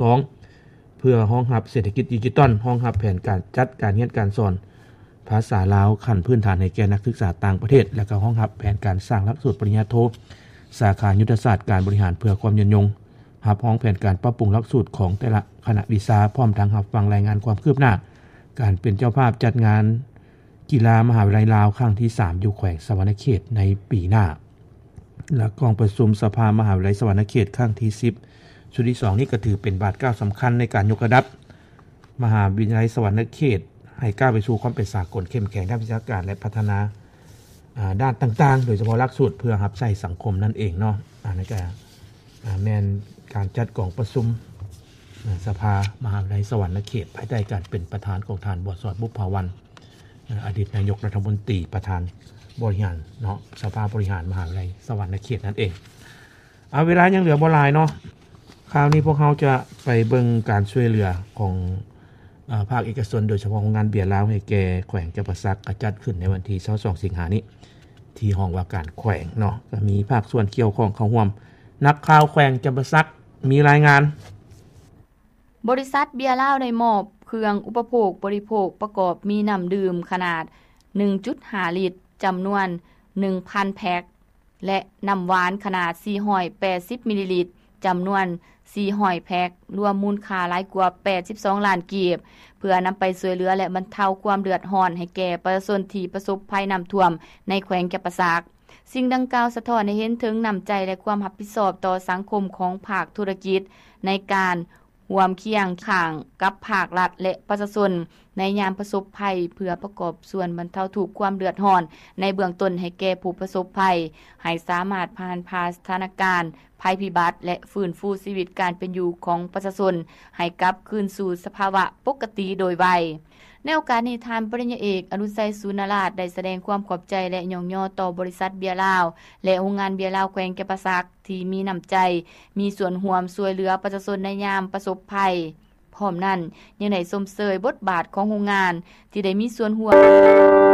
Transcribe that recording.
ສອງ ເພື່ອຮອງຮັບເສດຖະກິດດິຈິຕອນ, ຮອງຮັບແຜນການຈັດການຮຽນການສອນພາສາລາວຂັ້ນພື້ນຖານໃຫ້ແກ່ນັກສຶກສາຕ່າງປະເທດ ແລະ ກໍຮອງຮັບແຜນການສ້າງຫຼັກສູດປະລິນຍາໂທ ສາຂາຍຸດທະສາດການບໍລິຫານເພື່ອຄວາມຍືນຍົງ, ຮັບຮອງແຜນການປັບປຸງຫຼັກສູດຂອງແຕ່ລະຄະນະວິຊາ, ພ້ອມທັງຮັບຟັງລາຍງານຄວາມຄືບໜ້າການເປັນເຈົ້າພາບຈັດງານ ກິລາມະຫາວິທະຍາໄລລາວຄັ້ງທີສາມ ຢູ່ແຂວງສະຫວັນນະເຂດໃນປີໜ້າ ແລະ ກອງປະຊຸມສະພາມະຫາວິທະຍາໄລສະຫວັນນະເຂດຄັ້ງທີສິບ ຊຸດທີສອງນີ້ກໍຖືເປັນບາດກ້າວສຳຄັນໃນການຍົກລະດັບມະຫາວິທະຍາໄລສະຫວັນນະເຂດ ໃຫ້ກ້າວໄປສູ່ຄວາມເປັນສາກົນເຂັ້ມແຂງດ້ານວິຊາການ ແລະ ພັດທະນາ ອ່າ ດ້ານຕ່າງໆ ໂດຍສະເພາະຫຼັກສູດເພື່ອຮັບໃຊ້ສັງຄົມນັ້ນເອງເນາະ. ອັນນີ້ກໍ ອ່າ ແມ່ນການຈັດກອງປະຊຸມ ອ່າ ສະພາມະຫາວິທະຍາໄລສະຫວັນນະເຂດ ພາຍໃຕ້ການເປັນປະທານຂອງທ່ານ ບົວສອນ ບຸບຜາວັນ ອາ ອະດີດນາຍົກລັດຖະມົນຕີ ປະທານບໍລິຫານເນາະ ສະພາບໍລິຫານມະຫາວິທະຍາໄລສະຫວັນນະເຂດນັ້ນເອງ. ເອົາ ເວລາຍັງເຫຼືອບໍ່ຫຼາຍເນາະ, ຄາວນີ້ພວກເຮົາຈະໄປເບິ່ງການຊ່ວຍເຫຼືອຂອງ ເອີ ພາກເອກະຊົນ ໂດຍສະເພາະໂຮງງານເບຍລາວໃຫ້ແກ່ແຂວງຈຳປາສັກ ກະຈັດຂຶ້ນໃນວັນທີຊາວສອງ ສິງຫານີ້ ທີ່ຫ້ອງວ່າການແຂວງເນາະ ກະມີພາກສ່ວນກ່ຽວຂ້ອງເຂົ້າຮ່ວມ. ນັກຂ່າວແຂວງຈຳປາສັກມີລາຍງານ. ບໍລິສັດເບຍລາວໄດ້ມອບເຄື່ອງອຸປະໂພກບໍລິໂພກປະກອບມີນ້ຳດື່ມຂະໜາດໜຶ່ງຈຸດຫ້າລິດ ຈຳນວນໜຶ່ງພັນແພັກ ແລະ ນ້ຳຫວານຂະໜາດສີ່ຮ້ອຍແປດສິບມິນລີລິດ ຈຳນວນສີ່ຮ້ອຍແພັກ ລວມມູນຄ່າຫຼາຍກວ່າແປດສິບສອງລ້ານກີບ ເພື່ອນຳໄປຊ່ວຍເຫຼືອ ແລະ ບັນເທົາຄວາມເດືອດຮ້ອນໃຫ້ແກ່ປະຊາຊົນທີ່ປະສົບໄພນ້ຳຖ້ວມໃນແຂວງຈຳປາສັກ. ສິ່ງດັ່ງກ່າວສະທ້ອນໃຫ້ເຫັນເຖິງນ້ຳໃຈ ແລະ ຄວາມຮັບຜິດຊອບຕໍ່ສັງຄົມຂອງພາກທຸລະກິດ ໃນການຮ່ວມຄຽງຂ້າງກັບພາກລັດ ແລະ ປະຊາຊົນໃນຍາມປະສົບໄພ ເພື່ອປະກອບສ່ວນບັນເທົາທຸກຄວາມເດືອດຮ້ອນໃນເບື້ອງຕົ້ນໃຫ້ແກ່ຜູ້ປະສົບໄພ ໃຫ້ສາມາດຜ່ານຜ່າສະຖານະການໄພພິບັດ ແລະ ຟື້ນຟູຊີວິດການເປັນຢູ່ຂອງປະຊາຊົນໃຫ້ກັບຄືນສູ່ສະພາວະປົກກະຕິໂດຍໄວ. ໃນໂອກາດນີ້ ທ່ານປະລິນຍາເອກ ອະດຸນໄຊ ສູນນະລາດ ໄດ້ສະແດງຄວາມຂອບໃຈ ແລະ ຍ້ອງຍໍຕໍ່ບໍລິສັດເບຍລາວ ແລະ ໂຮງງານເບຍລາວແຂວງຈຳປາສັກ ທີ່ມີນ້ຳໃຈ ມີສ່ວນຮ່ວມຊ່ວຍເຫຼືອປະຊາຊົນໃນຍາມປະສົບໄພ. ພ້ອມນັ້ນ ຍັງໄດ້ຊົມເຊີຍບົດບາດຂອງໂຮງງານທີ່ໄດ້ມີສ່ວນຮ່ວມ